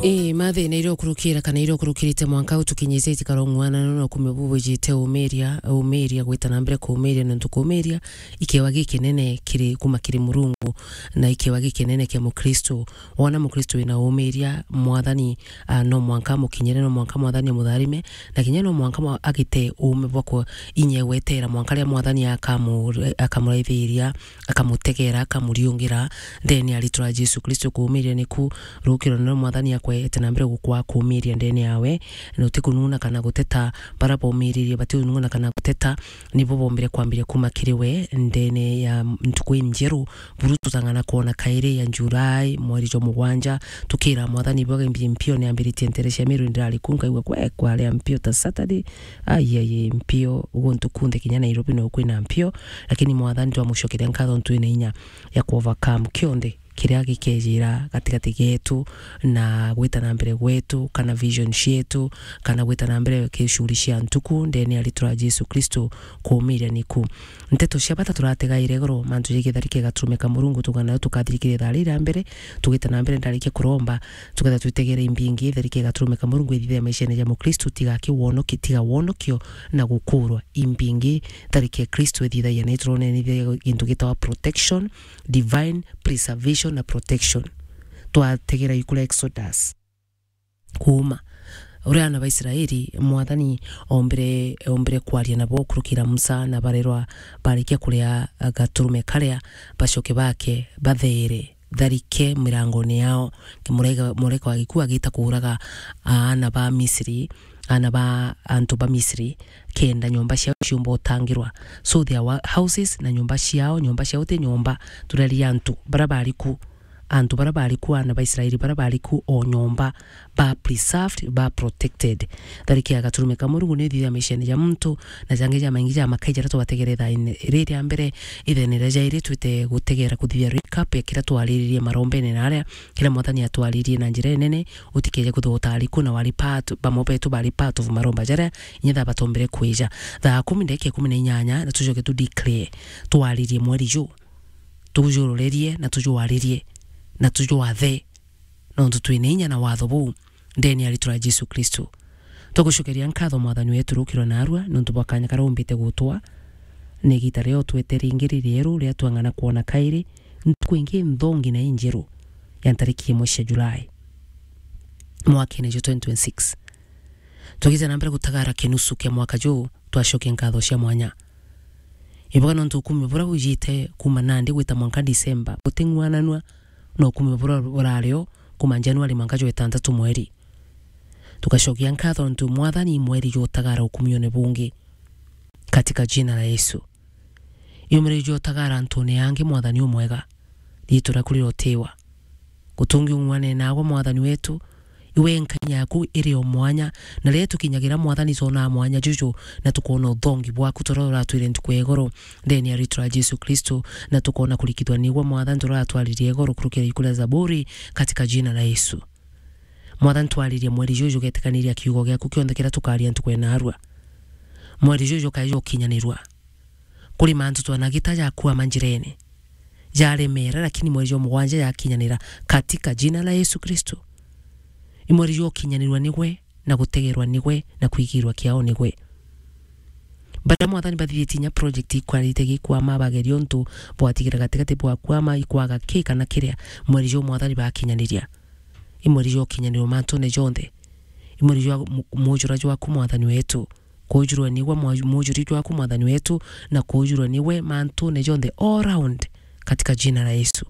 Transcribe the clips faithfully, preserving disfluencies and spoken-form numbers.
Ii, mathina iria ukurukira kana iria ukurukirite mwanka utukinyite itikara ung'wana no na ukumi bubu ijite umiria, umiria gwita na mbere kumiria nontu kumiria ikewa gikinene kiri kuma kiri Murungu na ikewa gikinene kia Mukristo. Wona Mukristo wina umiria, Mwathani, ah, no mwanka amukinyire, no mwanka Mwathani amutharime, na kinya no mwanka mwa-, agite uume bwa ku-, inya gwetera mwanka ria Mwathani akamu-, akamuraithiria, akamutegera, akamuriungira ndene ya ritwa ria Jesu Kristo. Kuumiria niku rukiro na Mwathani akwete na mbere gukwa kuumiria ndene yawe, na utikununa kana guteta. Bara baumiririe batiununa kana guteta, nibo bombire kwambiria kuma kiri we ndene ya ntuku injeru, buru tutang'ana kwona kairi ya July, mweri jwa mugwanja, tukira Mwathani bwage mbi-, mpio ni ambiritie ntere cia miru ndirari ku, nkaigua kwe kwaria mpio ta Saturday. Ai, ai, ai, mpio, guntu kunthe kinya Nairobi no kwina mpio, lakini Mwathani twamucokeria nkatho ntu ina inya ya ku overcome kionthe kiria gikejira gatigati getu na gwita na mbere gwetu, kana vision cietu, kana gwita na mbere kicuri cia ntuku, ndene ya ritwa ria Jesu Kristo, kuumiria niku. Nteto cia bata turategaire igoro, mantu jegitharike gaturumeka Murungu, tugana tukathirikire thaa ria mbere, tugita na mbere ndarikia kuromba, tuketha twitegere imbingi, itharike gaturumeka Murungu ithithia maishene ja Mukristo, tiga kiwonoki-, tiga wonokio na gukurwa. Imbingi, tharike Kristo ithithagia, na iturone ni gintu gitawa protection, divine preservation na protection. Twategera ikura Exodus. Kuuma. Uria ana ba Israeli, Mwathani ombire, ombire kwaria nabo kurukira Musa, na barerwa barikia kuria gaturume karia, bacoke bake, bathere, tharike mirangone yao. Murega-, mureka wa gikuu agita kuuraga aana ba Misri, aana ba antu ba Misri, kenda nyomba ciao ciumba utangirwa. So their wa-, houses na nyomba ciao, nyomba ciao ti nyomba, turaria antu bara bari ku. Antu bara bari ku, aana ba Israeli bara bari ku, o nyomba, ba preserved, ba protected. Thariki ya gaturume ka Murungu ni ithithia maishene ja muntu, na jangi jamaingi ja makai jaria twategere ithaine riri ria mbere. Ithaine ria jairi twite gutegera kuthithia recap ya kiria twariririe marombene na aria, kiria Mwathani atwaririe na njira inene, utikeje kuthota ariku na wari part, bamwe betu bari part of maromba jaria, inya thaa batombere kwija. Thaa kumi ndagika ikumi na inyanya, na tucoke tu declare, twaririe mweri ju. Tujururerie na tujwaririe na tujwathe, nontu twina inya na watho buu ndene ya ritwa ria Jesu Kristo. Tugucokeria nkatho Mwathani wetu rukiro narua nontu bwa kanya karia umbite gutwa, na igita ria utwete ringi ririeru ria twang'ana kwona kairi ntuku ingi nthongi na injeru ya ntariki imwe cia Julai mwakene jwa twenty twenty-six. Tugite na mbere gutagara kinusu kia mwaka juu, twacokia nkatho cia mwanya. Ibuka nontu ukumi buria bujite kuuma nandi gwita mwanka Disemba buting'uananua na ukumi buria burario kuuma Januari mwanka jwa itantatu mweri. Tugacokia nkatho nontu Mwathani mweri jwa utagara ukumione bungi. Katika jina la Yesu. Iumire jwa utagara antune angi Mwathani umwega. Riitwa riaku rirotiwa. Gutungi ung'uane nagwe Mwathani wetu, iwe nkanya yaku iri o mwanya, na riria tukinyagira Mwathani twonaa mwanya juju, na tukoona uthongi bwaku turia uratwire ntuku ya igoro, ndene ya ritwa ria Jesu Kristo, na tukoona kurikithwa nigwe Mwathani turia uratwaririe igoro kurukira iku ria Zaburi, katika jina la Yesu. Mwathani twaririe mweri juju ugetikaniria kiugo giaku kionthe kiria tukaria ntuku ya narua. Mweri juju ukae jukinyanirua. Kuri mantu twanagita jakwama njirene, jaremera, lakini mweri jwa mugwanja jakinyanira katika jina la Yesu Kristo. I mweri jwa ukinyanirwa nigwe, na gutegerwa nigwe, na kwigirwa kiao nigwe. Baria Mwathani bathithitie inya project ikwarite gikwama, bageria untu bwatigira gatigati bwakwama, ikwaga ki kana kiria, mweri jwa Mwathani bakinyaniria. I mweri jwa ukinyanirwa mantune jonthe. I mweri jwa mu-, mujura jwaku Mwathani wetu. Kuujurwa niwe mwa-, muujuri jwaku Mwathani wetu, na kuujurwa niwe mantune jonthe all round katika jina la Yesu.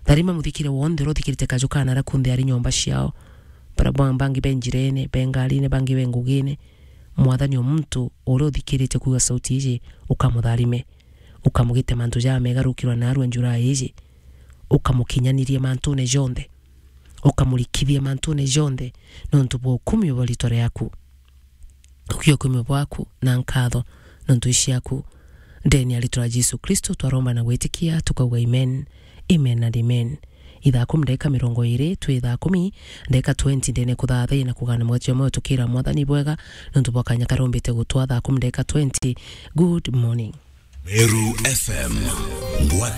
Tharima muthikire wonthe uria uthikirite kaju kana aria kunthe ari nyomba ciao. Bara bwa-, bangi be njirene, be ngarine, bangi be ngugine. Mwathani o muntu uria uthikirite kuuga sauti iji, ukamutharime. Ukamugite mantu jamega rukirwa narua njura iji. Ukamukinyanirie mantune jonthe. Ukamurikithie mantune jonthe, nontu bwa ukumio bwa ritwa riaku. Ukia ukumio bwaku na nkatho, nontu i ciaku. Ndene ya ritwa ria Jesu Kristo twaromba na gwitikia, tukauga amen. Amen and amen. Ithaa kumi ndagika mirongo iri, twi thaa kumi ndagika twenty ndene kuthathaia na kugana mweti jwa moyo tukira Mwathani bwega, nontu bwa kanya karombite gutwa thaa kumi ndagika twenty. Good morning. Meru F M, ngwataniro